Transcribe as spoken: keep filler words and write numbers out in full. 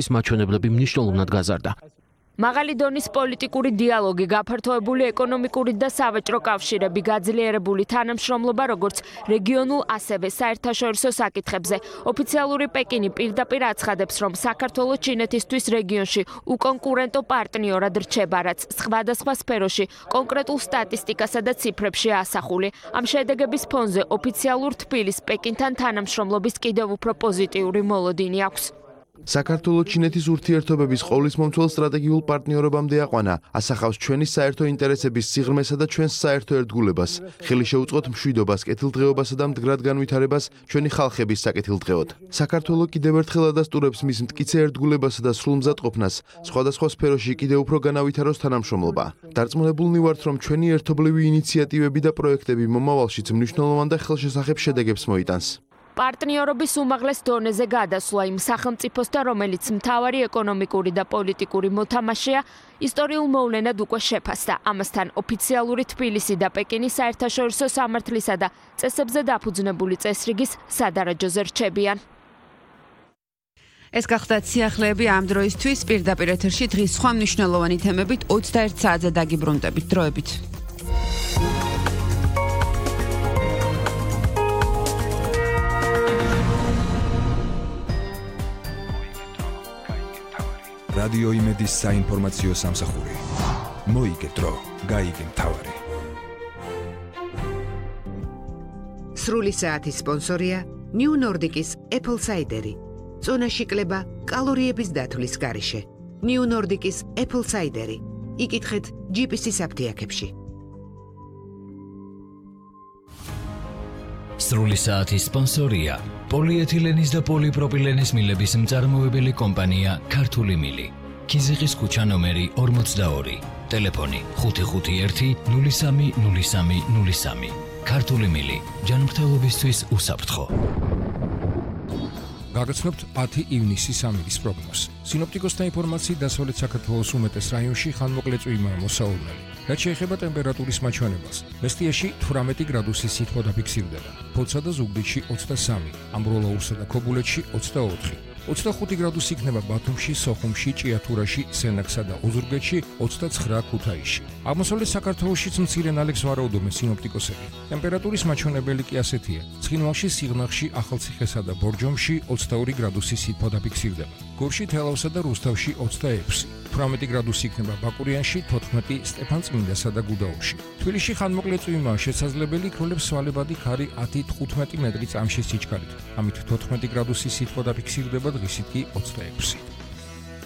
ის მაჩვენებლები მნიშვნელოვნად გაზარდა. მაღალი დონის პოლიტიკური დიალოგი, გაფართოებული ეკონომიკური და სავაჭრო კავშირები, გაძლიერებული თანამშრომლობა როგორც რეგიონულ, ასევე საერთაშორისო საკითხებზე. ოფიციალური პეკინი პირდაპირ აცხადებს, რომ საქართველოს ჩინეთისთვის რეგიონში უკონკურენტო პარტნიორად რჩება, რაც სხვადასხვა სფეროში კონკრეტულ სტატისტიკასა და ციფრებში ასახული. ამ შედეგების ფონზე ოფიციალურ თბილისს პეკინთან თანამშრომლობის კიდევ უფრო პოზიტიური მოლოდინი აქვს. საქართველოს-ჩინეთის ურთიერთობების ყოვლისმომცველ სტრატეგიულ პარტნიორობამდე აყვანა, ასახავს ჩვენი საერთო ინტერესების სიღრმესა და ჩვენს საერთო ერთგულებას. ხელი შეუწყოთ მშვიდობას, კეთილდღეობასა და მდგრად განვითარებას ჩვენი ხალხების საკეთილდღეოდ. საქართველოს კიდევ ერთხელ ადასტურებს მის მტკიცე ერთგულებასა და სრულმზადყოფნას, სხვადასხვა სფეროში კიდევ უფრო განავითაროს თანამშრომლობა. დარწმუნებულნი ვართ, რომ ჩვენი ერთობლივი ინიციატივები და პროექტები მომავალშიც მნიშვნელოვან და ხელშესახებ შედეგებს მოიტანს. პარტნიორობის უმაღლეს დონეზე გადასვლა იმ სახელმწიფოსთან, რომელიც მთავარი ეკონომიკური და პოლიტიკური მოთამაშეა, ისტორიულ მოვლენად უკვე შეფასდა. ამასთან ოფიციალური თბილისი და პეკინის საერთაშორისო სამართლისა და წესებზე დაფუძნებული წესრიგის სადარაჯოზე რჩებიან. ეს გახდათ სიახლეები ამ დროისთვის. პირდაპირ ეთერში დღის სხვა მნიშვნელოვანი თემებით ოცდაერთ საათზე დაგიბრუნდებით. დროებით. რადიო იმედის საინფორმაციო სამსახური. მოიგე დრო, გაიგე მთავარი. სრული საათის სპონსორია New Nordic-ის Apple Cider-ი. წონაში კლება კალორიების დათვლის გარეშე. New Nordic-ის Apple Cider-ი. იკითხეთ ჯი პი სი-ის აფთიაქებში. სრული საათის სპონსორია პოლიეთილენის და პოლიპროპილენის მილების მწარმოებელი კომპანია ქართული მილი. ქიზიყის ქუჩა ნომერი ორმოცდაორი. ტელეფონი ხუთი ხუთი ერთი ნული სამი ნული სამი ნული სამი. ქართული მილი. ჯანმრთელობისთვის უსაფრთხო. გაგაცნობთ ათი ივნისის ამირის პროგნოზს. სინოპტიკოსთა ინფორმაციით დასავლეთ საქართველოს უმეტეს რაიონში ხანმოკლე წვიმაა მოსაუბრებელი. რაც შეეხება ტემპერატურის მაჩვენებას, მესტიაში თვრამეტი გრადუსის სითბო დაფიქსირდება. ფოთსა და ზუგდიდში ოცდასამი, ამბროლაურსა და ქობულეთში ოცდაოთხი. ოცდახუთი გრადუსი იქნება ბათუმში, სოხუმში, ჭიათურაში, სენაკსა და ოზურგეთში, ოცდაცხრა ქუთაისში. აღმოსავლეთ საქართველოშიც მცირე ნალექს ვარაუდობენ სინოპტიკოსები. ტემპერატურის მაჩვენებელი კი ასეთია: ცხინვალში, სიღნაღში, ახალციხესა და ბორჯომში ოცდაორი გრადუსი სითბო დაფიქსირდება. გორში, თელავსა და რუსთავში ოცდაექვსი. თვრამეტი გრადუსი იქნება ბაკურიანში, თოთხმეტი სტეფანწმინდასა და გუდაუთში. თბილისში ხანმოკლე წვიმაა შესაძლებელი, ქროლებს სვალებადი ქარი ათი თხუთმეტი მეტრი წამში სიჩქარით. ამით თოთხმეტი გრადუსი სითბო დაფიქსირდება, დღისით კი ოცდაექვსი.